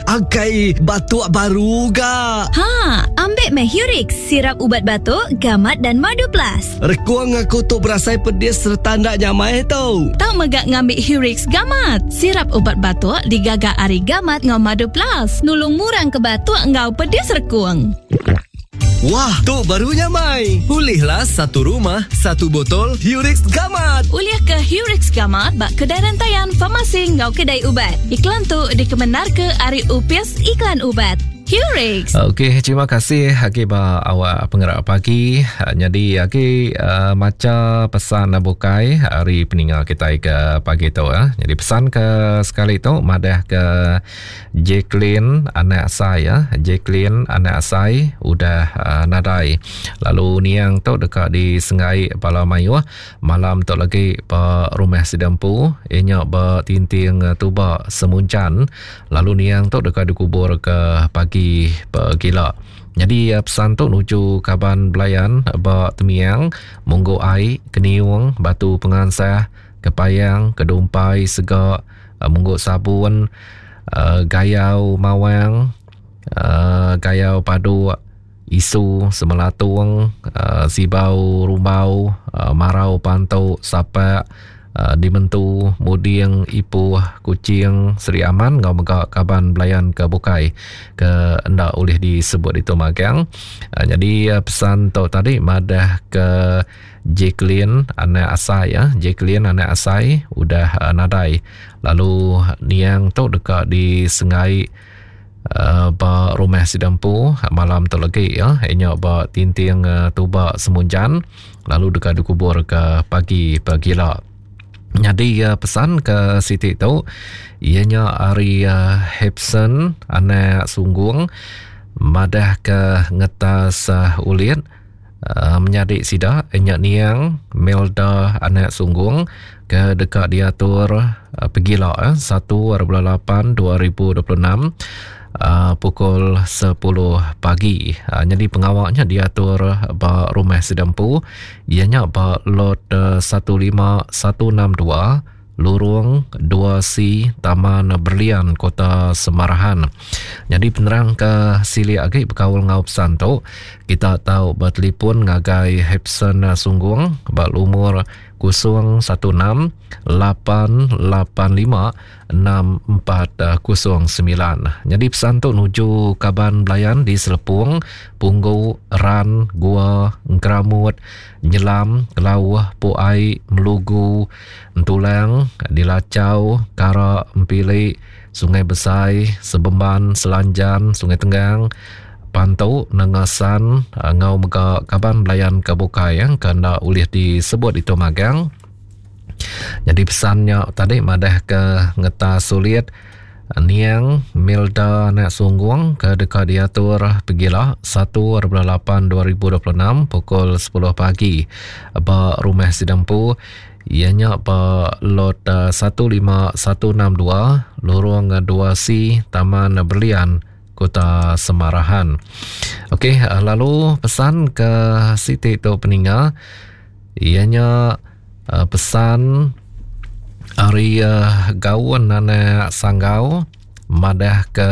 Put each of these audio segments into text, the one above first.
Akai batuk baru ga. Ha, ambik meh Hurix, sirap ubat batuk, gamat dan madu plus. Rekung aku tu berasai pedis sereta enda nyamai tu. Tau mega ngambi Hurix Gamat, sirap ubat batuk digaga ari gamat enggau madu plus, nulung ngurang ke batuk enggau pedis rekung. Wah, tu baru nyamai. Ulihlah satu rumah, satu botol Hurix Gamat. Ulih ke Hurix Gamat ba kedai rentayan, farmasi enggau kedai ubat. Iklan tu dikemendarka ari Opis Iklan Ubat. Hurix. Okey, terima kasih agi ba awak pengerak pagi. Nyadi agi uh, macha pesan bukai ari peninga kitai ke pagi tu ya. Jadi pesan ke sekali tu madah ke Jacqueline anak asai ya. Jacqueline anak asai udah uh, nadai. Lalu niang tu deka disenggai bala mayuh malam tu lagi ba rumah sida empu inya ba Tinting Tuba Semuncan. Lalu niang tu deka dikubur ke pagi pegila. Nyadi pesan tu nuju kaban belayan ba Temiang, Munggu Ai, Keniung, Batu Pengansah, Kepayang, Kedumpai, Sega, Munggu Sabun, Gayau Mawang, Gayau Paduk, Isu Semelatung, Sibau Rumbau, Marau Pantu, Sapak, Dimentu, Muding, Ipuh, Kuching, Sri Aman enggau mega kaban belayan ke bukai ke enda ulih disebut ditu magang. Nyadi pesan tu tadi madah ke Jacqueline anak asai ya, Jacqueline anak asai udah uh, nadai. Lalu niang tu deka disengai uh, ba rumah sida empu malam tu lagi ya, inya ba Tinting uh, Tuba Semunjan lalu deka dikubur ke pagi pagila. Nyadi uh, pesan ke siti tu iya nya ari uh, Hepson anak Sunggung madah ke ngetas uh, ulit Menyadi sida nya niang Melda anak Sunggung ke deka diatur pegila satu ari bulan lapan 2026 pukul sepuluh pagi. Nyadi pengawa nya diatur ba rumah sida empu iya nya ba lot 15162 Lurung 2C Taman Berlian Kota Semarahan. Nyadi penerang ke silik agi bekaul enggau pesan tu, kita tau betelefon ngagai Hepson Sunggung ba lumur 016 885 6409. Nyadi pesan tu nuju kaban belayan di Selepung, Punggu, Ran, Gua, Engkeramut, Nyelam, Kelauh, Puai, Melugu, Entulang, Dilachau, Kara, Empili, Sungai Besai, Sebemban, Selanjan, Sungai Tenggang, Pantu, Nanga San enggau mega kaban belayan ke bukai ke enda ulih disebut ditu magang. Nyadi pesan nya tadi madah ke ngeta sulit Niang Milda anak Sunggung ke deka diatur pegila 1 bulan 8 2026 pukul 10 pagi ba rumah sida empu iya nya ba lot 15162 Lorong 2C Taman Berlian Kota Semarahan. Okey lalu pesan ke siti tu peninga iya nya Pesan ari gaun anak Sanggau madah ke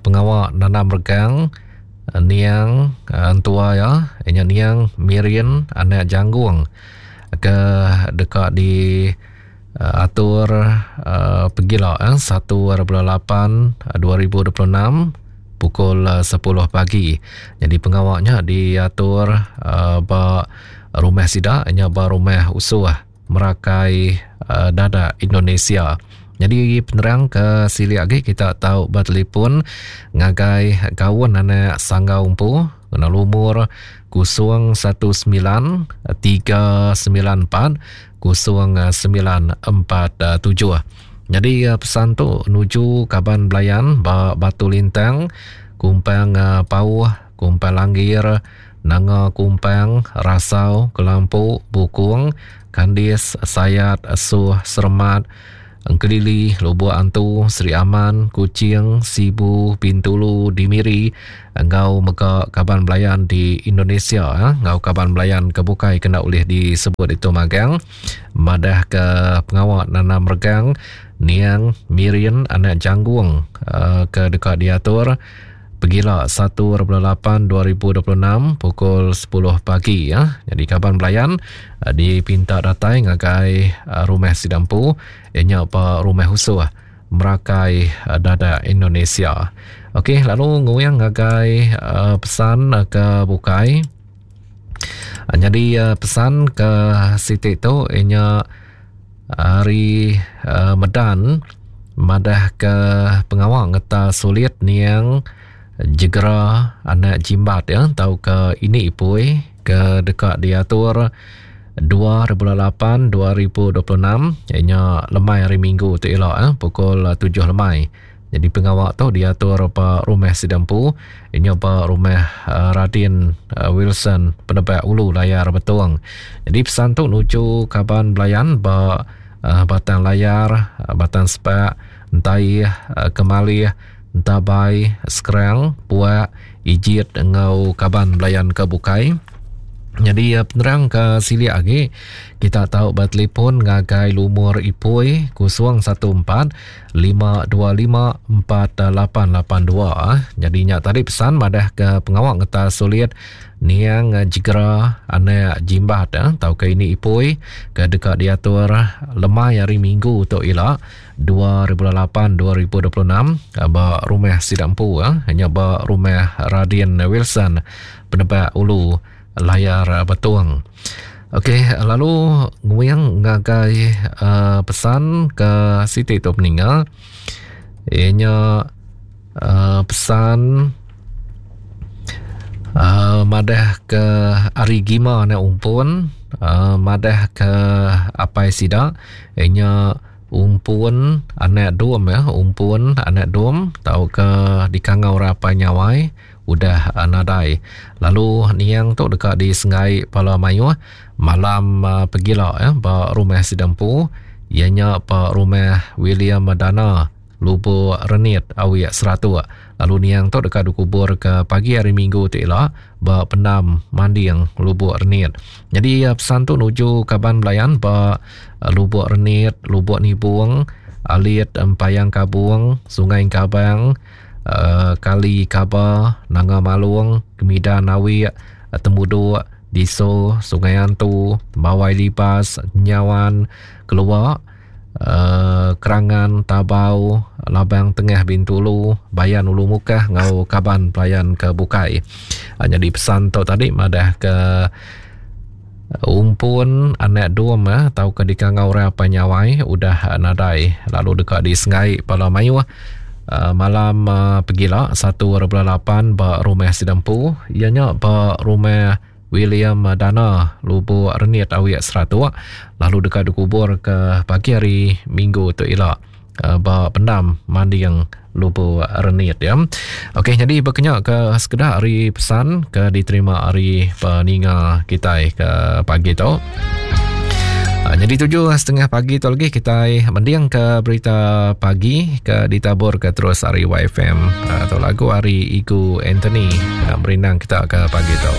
pengawa nanam regang niang entua iya nya niang Mirin anak Janggung ke deka di atur pegila satu ari bulan lapan 2026 pukul 10 pagi. Nyadi pengawa nya diatur ba Rumah sida nya ba Rumah Usuh Merakai Dadak Indonesia. Nyadi penerang ke silik agi kita tau betelefon ngagai Gaun anak Sanggau empu ngena lumur 019 394 0947. Nyadi pesan tu nuju kaban belayan ba Batu Lintang, Kumpang Pauh, Kumpang Langgir, Nanga Kumpang, Rasau, Kelampu, Bukung, Kandis, Sayat, Suh, Seremat, Engkelili, Lubok Antu, Sri Aman, Kuching, Sibu, Bintulu, di Miri enggau mega kaban belayan di Indonesia enggau kaban belayan ke bukai ke enda ulih disebut ditu magang madahka pengawa nanam regang. Niang Mirin anak Janggung uh, ke deka diatur pegila 1.8 2026 pukul 10 pagi ya. Jadi kaban belayan uh, dipinta datai ngagai uh, rumah Sidampu ianya ba rumah Husuh Merakai uh, Dadak Indonesia. Okey, lalu nguyang ngagai uh, pesan uh, ke bukai. Uh, jadi uh, pesan ke siti tu ianya Ari Medan madah ke pengawa ngeta sulit niang jegera anak jimbat ya tauka ini ipui ke deka diatur 2008 2026 ianya lemai hari minggu tu ila eh, pukul 7 lemai. Jadi pengawa tu diatur ba rumah sida empu inya ba rumah uh, Radin uh, Wilson Penebak Ulu Layar Betong. Jadi pesan tu nuju kaban belayan ba uh, Batang Layar, uh, Batang Sepak, Entaih, uh, Kemalih, Entabai, Skrang, Puak, Ijit enggau kaban belayan ke bukai. Jadi penerang ke silik agi kita tau betelefon ngagai lumur ipoi 014 525 4882. Jadi nya tadi pesan madah ke pengawa ngeta sulit niang jegera anak jimbat tau ke ini ipoi ke deka diatur lemai hari minggu tu ila 2008 2026 ba rumah sida empu nya ba rumah Radin Wilson Penebak Ulu Layar Betong. Okey, lalu nguing ngagai uh, pesan ke siti tu peninga. Ianya uh, pesan uh, madah ke ari gima anak umpun, uh, madah ke apai sida ianya umpun anak dum ya, umpun anak dum tauka dikangau orang apai nyawai udah nadai. Lalu niang tu deka disenggai pala mayuh malam pegila ya ba rumah sida empu iya nya ba rumah William Dana Lubok Renit Awik Seratuk. Lalu niang tu deka dikubur ke pagi hari Minggu ti ila ba pendam Manding Lubok Renit. Nyadi pesan tu nuju kaban belayan ba Lubok Renit, Lubok Nibong, Alit Empayang Kabung, Sungai Engkabang, Kali Kaba, Nanga Malong, Kemidan Awik, Temuduk, Diso, Sungai Antu, Tembawai Libas, Nyawan, Keluak, Kerangan, Tabau, Labang Tengah Bintulu, Bayan Ulu Mukah enggau kaban pelayan ke bukai. Nyadi pesan tu tadi madah ke umpun anak dum tauka dikangau orang apai nyawai udah nadai lalu deka disengai bala mayuh malam pegila 1.8 ba rumah sida empu iya nya ba rumah William Dana Lubuk Renit Awik Seratuk lalu deka dikubur ke pagi hari Minggu tu ila ba pendam Manding Lubuk Renit ya. Okey jadi berkenya ke sekeda hari pesan ke diterima hari peninga kitai ke pagi tu. Jadi 7.30 pagi tu lagi kita mending ke berita pagi ke ditabur ke terus hari YFM atau lagu hari Igu Anthony nak merindang kita ke pagi tu.